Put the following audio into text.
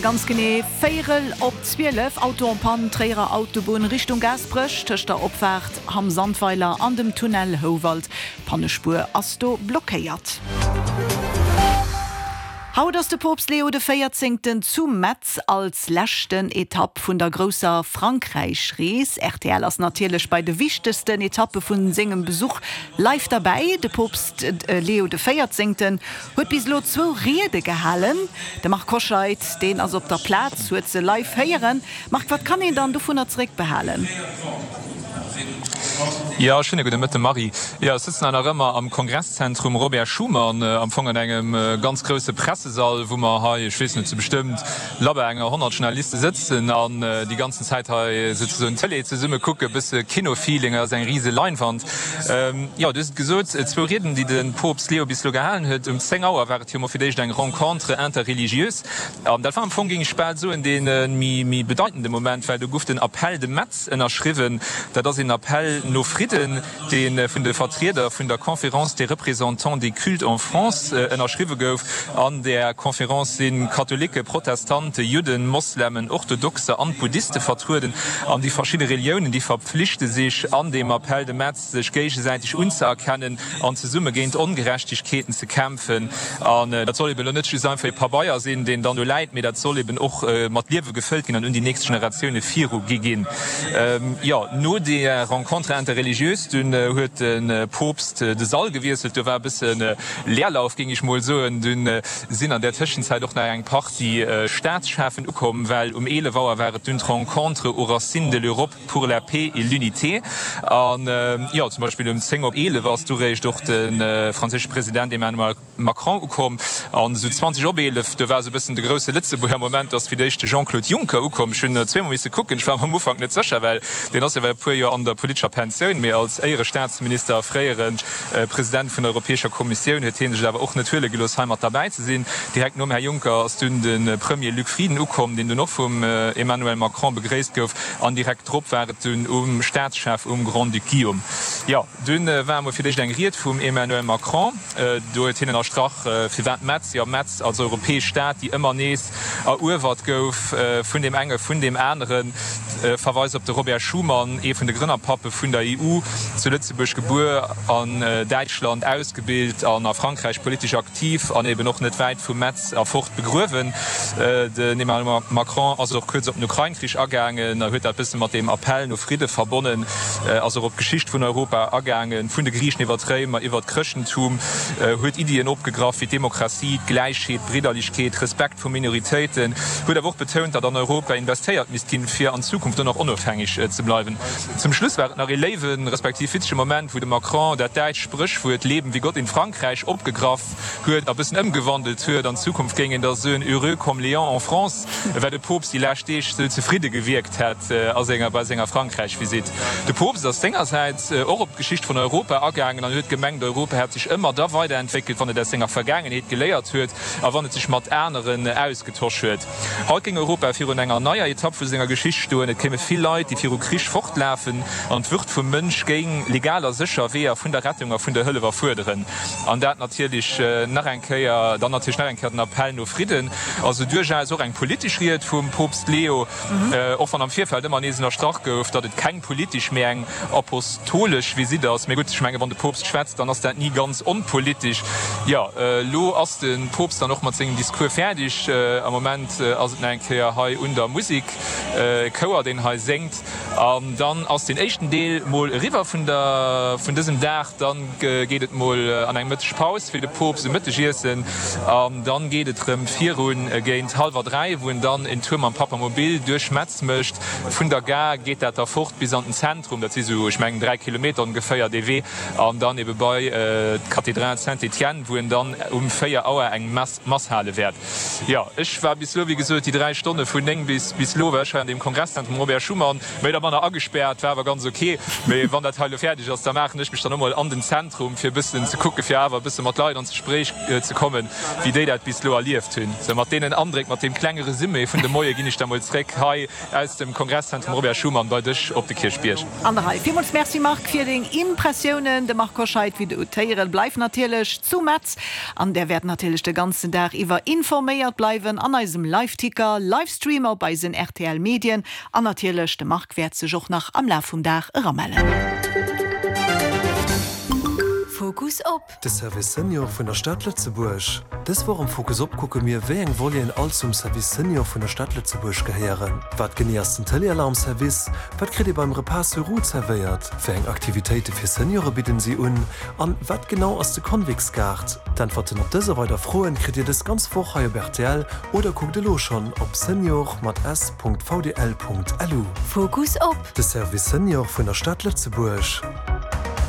Ganz genee véierel op 12, Auto en panne, Tréierer Autobunn Richtung Gaasperech, tëscht der Opfaart Hamm-Sandweiler an dem Tunnel Houwald. D'Pannespuer ass do blockéiert. Haut ass de Poopst Leo de Véierzéngten zu Metz als leschten Etapp vun der grousser Frankräich-Rees. Rtl ass natierlech bei de wichtegsten Etappe vu sengem Besuch live derbäi. De Poopst Leo de Véierzéngten Huet bis elo zwou Riede gehalen. De Marc Hoscheid, deen ass op der Plaz, huet se live héieren. Marc, wat kann een dann dovunner zeréckbehalen? Jo, schéine gudde Mëtte Marie. Jo, ech sëtzen hei nach ëmmer am Kongresszentrum Robert Schuman, am Fong an engem ganz grousse Pressesall, wou mer hei, ech weess net, zu bestëmmt labber enger 100 Journaliste sëtzen an déi ganzen Zäit hei souzesoen Tëlee zesumme kucken, e bësse Kino-Feeling, hei ass eng rise Leinwand. Jo, du hues et gesot, zwou Rieden, déi de Poopst Leo bis elo gehalen huet. Um 10 Auer war et jo mol fir d'éischt eng Rencontre interreligieuse. An dat war am Fong, géing ech bal soen, dee méi bedeitende Moment, well do gouf den Appel de Metz ënnerschriwwen. Dat ass een Appell no Fridden, dee vun de Vertrieder vun der Conférence des représentants des cultes en France ënnerschriwwe gouf. An där Conférence si Katholiken, Protestante, Judden, Moslemen, Orthodoxer an Buddhiste vertrueden. An déi verschidde Reliounen, déi verpflichte sech an deem Appel de Metz, sech géigesäiteg unzëerkennen an zesumme géint Ongerechtegkeeten ze kämpfen. An dat soll eben elo net just einfach ee Pabeier sinn, deen dann do läit, mee dat soll eben och mat Liewe gefëllt ginn an un déi nächst Generatioune viru gi ginn. Jo, no där Rencontre interreligieuse dunn huet de Poopst de Sall gewiesselt. Do war e bësse Leerlauf, géing ech mol soen. Dunn sinn an där Tëschenzäit och nach eng Partie Staatscheffen ukomm, well um 11 Auer war et dunn d'Rencontre aux racines de l'Europe pour la paix et l'unité. An jo, zum Beispill um 10 op 11 ass du réischt och de franséische President Emmanuel Macron ukomm. An esou 20 op 11, do war esou e bëssen de grousse Lëtzebuerger Moment, ass fir d'éischt de Jean-Claude Juncker ukomm. Ech hunn zweemol misse kucken, ech war mer am Ufank net sécher, well deen ass jo well e puer Joer an der politescher Pensioun, mee als Éierestaatsminister a fréiere President vun der Europäescher Kommissioun huet hie sech et awer och net huele gelooss, hei mat derbäi ze sinn. Direkt nom Här Juncker ass dunn de Premier Luc Frieden ukomm, deen dunn och vum Emmanuel Macron begréisst gouf. An direkt drop war et dunn um Staatschef, um Grand-Duc Guillaume. Jo, dunn war emol fir d'éischt eng Ried vum Emmanuel Macron. Do huet hien ënnerstrach, firwat Metz, jo Metz als europäesch Stad, déi ëmmer nees eruewert gouf vun deem enge, vun deem aneren. Verweis op de Robert Schuman, ee vun de Grënnerpappe vun der EU, zu Lëtzebuerg gebuer, an Däitschland ausgebilt an a Frankräich politesch aktiv an eben och net wäit vu Metz erfort begruewen. Den Emmanuel Macron ass och kuerz op den Ukrain-Krich agaangen a huet dat bësse mat deem Appell no Fridde verbonnen, ass och op d'Geschicht vun Europa agaangen, vun de Griichen iwwer d'Réimer, iwwer d'Chrëschtentum, huet Iddien opgegraff wéi d'Demokratie, d'Gläichheet, d'Bridderlechkeet, Respekt vu Minoritéiten, huet awer och betount, datt an Europa investéiert misst ginn, fir an Zukunft och nach onofhängeg ze bleiwen. Zum Schluss war et nach ee léiwen, respektiv witzege Moment, wou de Macron dat däitscht Spréchwuert Leben wie Gott in Frankreich opgegraff huet a bëssen ëmgewandelt huet. An Zukunft géing een da soen Heureux comme Léon en France, well de Poopst déi lescht Deeg sou zefridde gewierkt hätt a senger bei senger Frankräich-Visitt. De Poopst ass sengersäits och op d'Geschicht vun Europa agaangen an huet gemengt, Europa hätt sech ëmmer da weiderentwéckelt, wann et aus senger Vergaangenheet geléiert huet a wann et sech mat aneren ausgetosch huet. Haut géing Europa virun enger neier Etapp vu senger Geschicht stoen. Et kéime vill Leit, déi viru Krich fortlafen, an d'Würd vum Mënsch géing legal a sécher Weeër vun der Rettung a vun der Hëllef erfuerderen. An dat natierlech nach eng Kéier, dann natierlech nach eng Kéier den Appell no Fridden. Also duerchaus och eng politesch Ried vum Poopst Leo, och wann am Virfeld ëmmer nees ënnerstrach gouf, datt et keng politesch, mee eng apostolesch Visitt ass. Mee gutt, ech menge wann de Poopst schwätzt, dann ass dat ni ganz onpolitesch. Jo, elo ass de Poopst dann och mat sengem Discours fäerdeg. Am Moment ass et nach eng Kéier hei un der Musek, e Chouer, deen hei séngt. An dann ass den éischten Deel mol eriwwer vun der vun dësem Dag. Dann geet et mol an eng Mëttegpaus fir de Poopst e Mëttegiessen. An dann geet et rëm virun géint hallwer 3, wou en dann en Tour mam Papamobil duerch Metz mécht. Vun der Gare geet dat da fort bis an den Zentrum, dat si sou, ech mengen 3 Kilometer ongeféier dee Wee, an dann ebe bei d'Kathedral Saint-Étienne, wou en dann um 4 Auer eng Mass hale wäert. Jo, ech war bis elo, wéi gesot, déi 3 Stonne vun 9 bis bis elo war ech hei an deem Kongresszentrum Robert Schuman. Mee da. manner agespäert, war awer ganz ok. Mee wann dat hei elo fäerdeg ass, da maachen ech mech dann och mol an den Zentrum, fir e bëssen ze kucken, fir awer e bësse mat Leit an d'Gespréich ze kommen, wéi déi dat bis elo erlieft hunn. Sou, mat deenen Andréck, mat deem klenge Resumé vun dem Moie ginn ech da mol zréck hei aus dem Kongresszentrum Robert Schuman bei dech op de Kierchbierg. An der Rei. Villmools Merci Marc fir deng Impressiounen. De Marc Hoscheid, wéi de ut héieren, bleift natierlech zu Metz an där wäert natierlech de ganzen Dag iwwer informéiert bleiwen an eisem Liveticker, Livestream op eisen rtl Medien an natierlech de Marc wäert sech och nach am Laf vum Dag eramellen. Fokus op. De Service Senior vun der Stad Lëtzebuerg. Dës Woch am Fokus Op kucke mir, wéi eng Voleten all zum Service Senior vun der Stad Lëtzebuerg gehéieren. Wat genee ass den Téléalarm-Service? Wat kritt ee beim Repas sur roues zerwéiert? Wéi eng Aktivitéite fir Seniore bidden si un? An wat genau ass de Convix-Gaart? D'Äntwerten op dës a weider Froen kritt Dir dës ganz Woch hei op rtl oder kuckt elo schonn op senior mat s.vdl.lu. Fokus Op. De Service Senior vun der Stad Lëtzebuerg.